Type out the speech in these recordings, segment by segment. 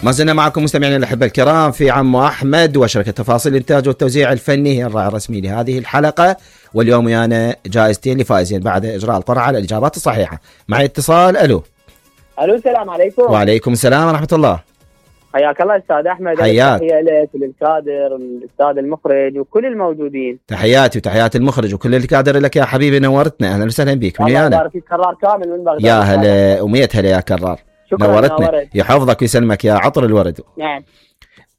ما زلنا معكم مستمعينا الأحبة الكرام في عمو أحمد وشركة تفاصيل الإنتاج والتوزيع الفني هي الراعي الرسمي لهذه الحلقة. واليوم ويانا جائزتين لفائزين بعد إجراء القرعة على الإجابات الصحيحة. معي اتصال. ألو. السلام عليكم. وعليكم السلام ورحمة الله. حياك الله أستاذ أحمد. حياك. تحية لك وللكادر الأستاذ المخرج وكل الموجودين. تحياتي وتحيات المخرج وكل الكادر لك يا حبيبي، نورتنا. أهلا وسهلا بك. من ويانا؟ الله يبارك فيك. كرار كامل من بغداد. يا هلا ومية هلا يا كرار. نورتنا. يحفظك ويسلمك يا عطر الورد. نعم.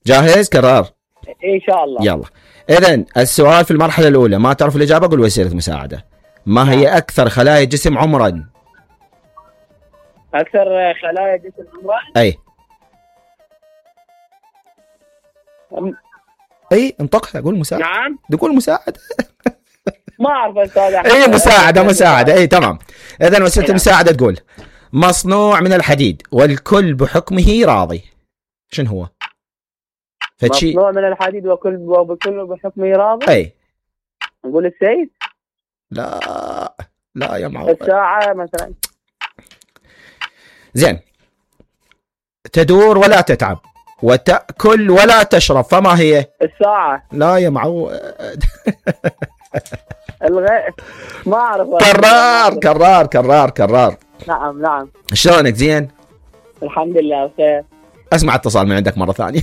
جاهز كرار؟ إن شاء الله. يلا. إذن السؤال في المرحلة الأولى، ما تعرف الإجابة قل وسيلة مساعدة. ما هي أكثر خلايا الجسم عمرا؟ أكثر خلايا الجسم عمرا؟ أي انطقها. قول مساعدة. نعم. تقول مساعدة. ما أعرف أستاذ أحمد. اي مساعدة. اي تمام. إذن وسيلة المساعدة تقول مصنوع من الحديد والكل بحكمه راضي. شنو هو؟ فتشي مصنوع من الحديد وبكل بحكمه راضي. اي نقول السيف. لا يا معود. الساعة مثلا. زين. تدور ولا تتعب وتأكل ولا تشرب، فما هي؟ الساعة. لا يا معود. ما أعرف. كرار. نعم. شلونك؟ زين الحمد لله بخير. اسمع اتصال من عندك مرة ثانية.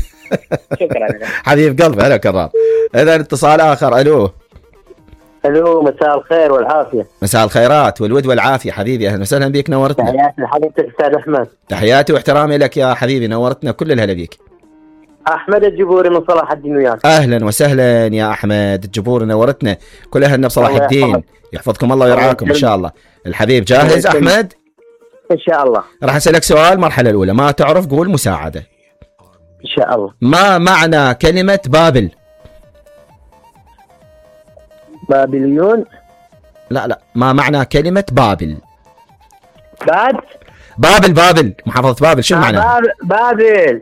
شكرا. حبيب قلبي. هلا كرار. إذا اتصال آخر. ألو. مساء الخير والعافية. مساء الخيرات والود والعافية حبيبي. أهلا وسهلا بك. نورتنا. تحياتي لحضرتك أستاذ أحمد. تحياتي واحترامي لك يا حبيبي. نورتنا. كل الهلا بيك. أحمد الجبوري من صلاح الدين وياك. أهلا وسهلا يا أحمد الجبوري. نورتنا. كل أهلنا بصلاح الدين. يحفظكم الله ويرعاكم إن شاء الله. الحبيب جاهز أحمد؟ إن شاء الله. راح أسألك سؤال المرحلة الأولى، ما تعرف قول مساعدة. إن شاء الله. ما معنى كلمة بابل؟ بابليون. لا ما معنى كلمة بابل؟ بابل محافظة بابل. شو معناها؟ بابل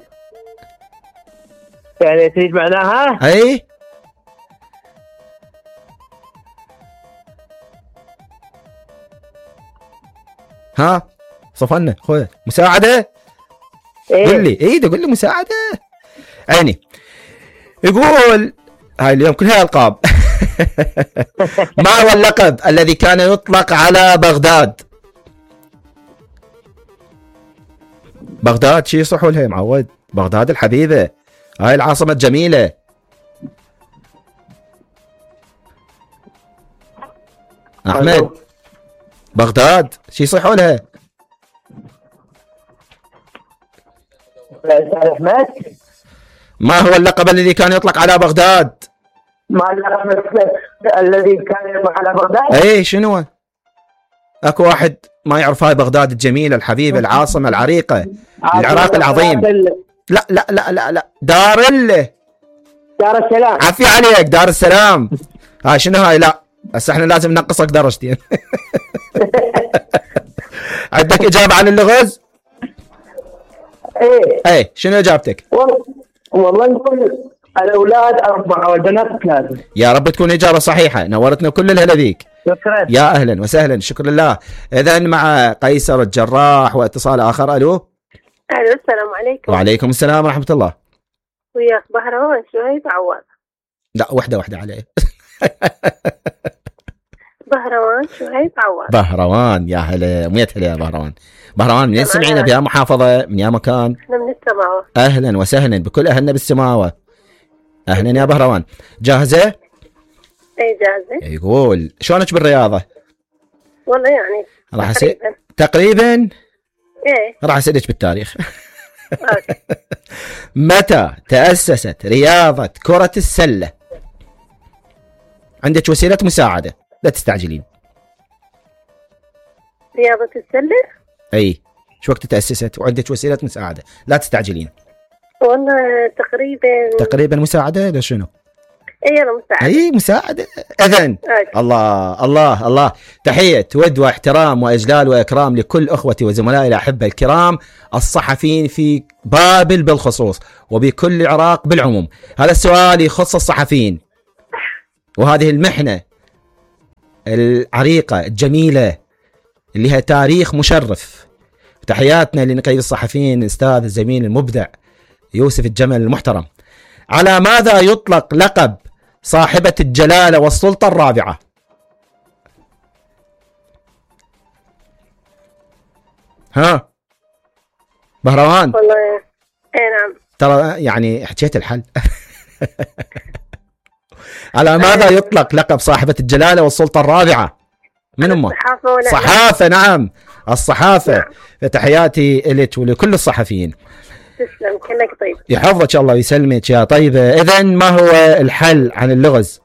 يعني تريد معناها؟ اي ها صفنا خويا. مساعدة. قل لي. تقول لي مساعدة. عيني. يقول هاي اليوم كلها ألقاب. ما هو اللقب الذي كان يطلق على بغداد؟ بغداد شي يصحوا لها يا معود. بغداد الحبيبة، هاي العاصمة الجميلة. أحمد بغداد شي يصحوا لها؟ أحمد ما هو اللقب الذي كان يطلق على بغداد؟ ما اللقب الذي كان يطلق على بغداد؟ اي شنو؟ اكو واحد ما يعرف هاي بغداد الجميلة الحبيبة العاصمة العريقة العراق العظيم. لا دار السلام. عافية عليك. دار السلام. هاي شنو هاي؟ لا هسه احنا لازم ننقصك درجتين. عندك إجابة عن اللغز؟ ايه شنو إجابتك؟ والله نقول الأولاد 4 والبنات 3. يا رب تكون إجابة صحيحة. نورتنا كل الهلا بيك. شكرا. يا أهلا وسهلا. شكرا لله. إذن مع قيصر الجراح واتصال آخر. ألو. السلام عليكم. وعليكم السلام ورحمة الله. وياك بهروان شهيب عواد. لا واحدة عليه. بهروان شهيب عواد. بهروان. يا هلا ميت هلا يا بهروان. منين سمعينا؟ بيا محافظة من يا مكان؟ احنا من السماوة. أهلا وسهلا بكل أهلنا بالسماوة. أهلا يا بهروان. جاهزة؟ اي جاهزة. يقول شلونك بالرياضة؟ والله يعني راح تقريبا. ايه راح أسألك بالتاريخ. متى تأسست رياضة كرة السلة؟ عندك وسيلة مساعدة لا تستعجلين. رياضة السلة؟ اي شو وقت تأسست وعندك وسيلة مساعدة لا تستعجلين. والله تقريبا مساعدة. لا شنو؟ اي مساعدة. اي مساعدة. اذن الله تحية ود واحترام واجلال واكرام لكل اخوتي وزملائي الاحبة الكرام الصحفيين في بابل بالخصوص وبكل العراق بالعموم. هذا السؤال يخص الصحفيين وهذه المحنة العريقة الجميلة اللي لها تاريخ مشرف. تحياتنا لنقيب الصحفيين الأستاذ الزميل المبدع يوسف الجمل المحترم. على ماذا يطلق لقب صاحبة الجلالة والسلطة الرابعة؟ ها بهروان؟ والله نعم. ترى يعني حكيت الحل. على ماذا يطلق لقب صاحبة الجلالة والسلطة الرابعة؟ من أمه؟ صحافة. نعم الصحافة. نعم. فتحياتي لك ولكل الصحفيين. تسلم كلك طيب. يحفظك الله ويسلمك يا طيبة. إذن ما هو الحل عن اللغز؟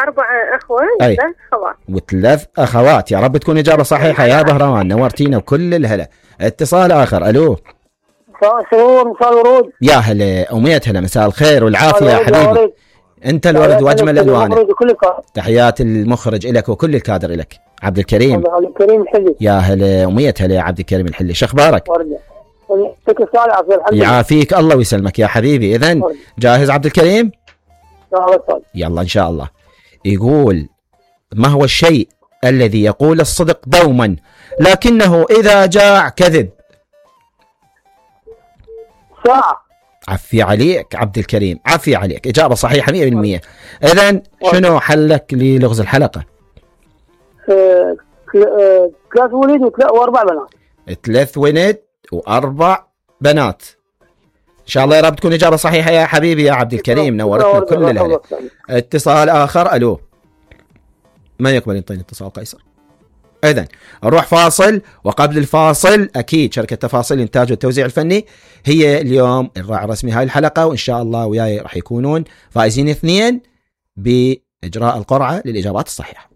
4 أخوة و3 أخوات. و3 أخوات. يا رب تكون إجابة صحيحة يا بهروان، نورتينا وكل الهلا. اتصال آخر. ألو. مساء السرور، مساء الورود. يا هلا أمية هلا، مساء الخير والعافية يا حبيبي. أنت الورد وأجمل الألوان. تحيات المخرج إلك وكل الكادر إلك. عبد الكريم. عبد الكريم الحلي. يا هلا أمية هلا يا عبد الكريم الحلي، شو أخبارك؟ يعافيك الله ويسلمك يا حبيبي. إذن جاهز عبد الكريم؟ يلا إن شاء الله. يقول: ما هو الشيء الذي يقول الصدق دوما لكنه إذا جاع كذب؟ ساعة. عفي عليك عبد الكريم، عفي عليك، إجابة صحيحة 100%. إذن شنو حلك للغز الحلقة؟ 3 ولد و4 بنات. 3 ولد و4 بنات. إن شاء الله يا رب تكون إجابة صحيحة يا حبيبي يا عبد الكريم، نورتنا كل الهلا. اتصال آخر. ألو. ما يقبل ينطيني اتصال قيصر. إذن نروح فاصل، وقبل الفاصل أكيد شركة تفاصيل الإنتاج والتوزيع الفني هي اليوم الراعي الرسمي هاي الحلقة، وإن شاء الله وياي راح يكونون فائزين 2 بإجراء القرعة للإجابات الصحيحة.